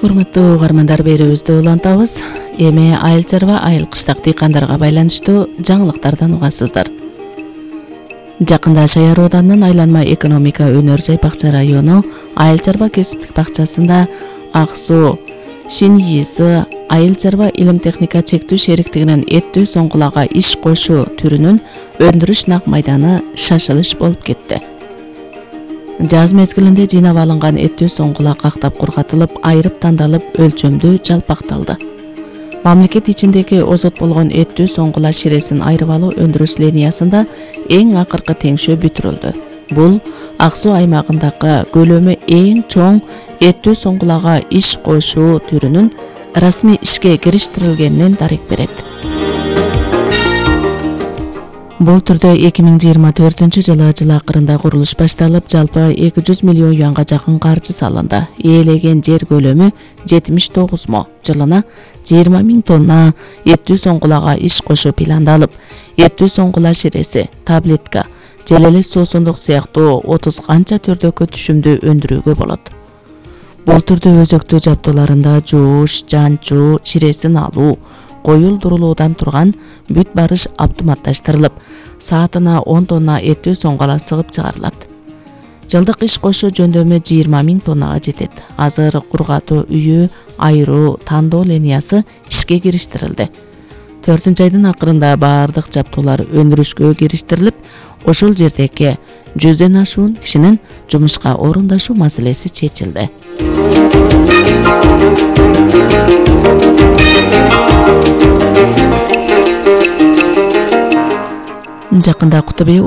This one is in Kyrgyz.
Урматтуу угармандар, берүүбүздү улантабыз. Эми айыл чарба, айыл кыштак дыйкандарга байланыштуу жаңылыктардан угасыздар. Жакында Шаяр Оданынын Айланма экономика өнөр жай бакча району айыл чарба кесиптик бакчасында Ак Суу ШИНИИС айыл чарба илим техника чектүү шериктигинин эттүү соңгулага иш кошуу түрүнүн өндүрүш нак майданы шашылыш болуп кетти. Жаз мезгилинде жыйнап алынган эттүү соңгула кактап кургатылып, айрып тандалып, өлчөмдүү жалпакталды. Мамлекет ичиндеги озот болгон эттүү соңгула ширесин айрып алуу өндүрүш линиясында эң акыркы теңшөө бүтүрүлдү. Бул Ак Суу аймагындагы көлөмү эң чоң эттүү соңгулага иш кошуу түрүнүн расмий ишке кириштирилгенинен дарек берет. Бул түрдө 2024 жылы жыл акырында курулуш башталып, жалпы 200 миллион юанга жакын каржы салынды. Ээлеген жер көлөмү 79 мо. Жылына 20 000 тонна эттүү соңгулага иш кошуу пландалып, эттүү соңгула ширеси, таблетка, желелес суусундук сыяктуу 30 канча түрдөгү түшүмдү өндүрүүгө болот. Бул түрдө өзөктүү жабдууларында жууш, жанчуу, ширесин алуу, коюлдурулуудан турган бүт барыш автоматташтырылып, саатына 10 тонна эттүү соңгула сыгып чыгарылат. Жылдык иш кошуу жөндөмү 20 000 тоннага жетет. Азыр кургатуу үйү, айыруу, тандоо линиясы ишке кириштирилди. 4-айдын акырында баардык жабдуулар өндүрүшкө кириштирилип, ошол жердеги 100дөн ашуун кишинин жумушка орундашуу маселеси чечилди. Жакында Кутубей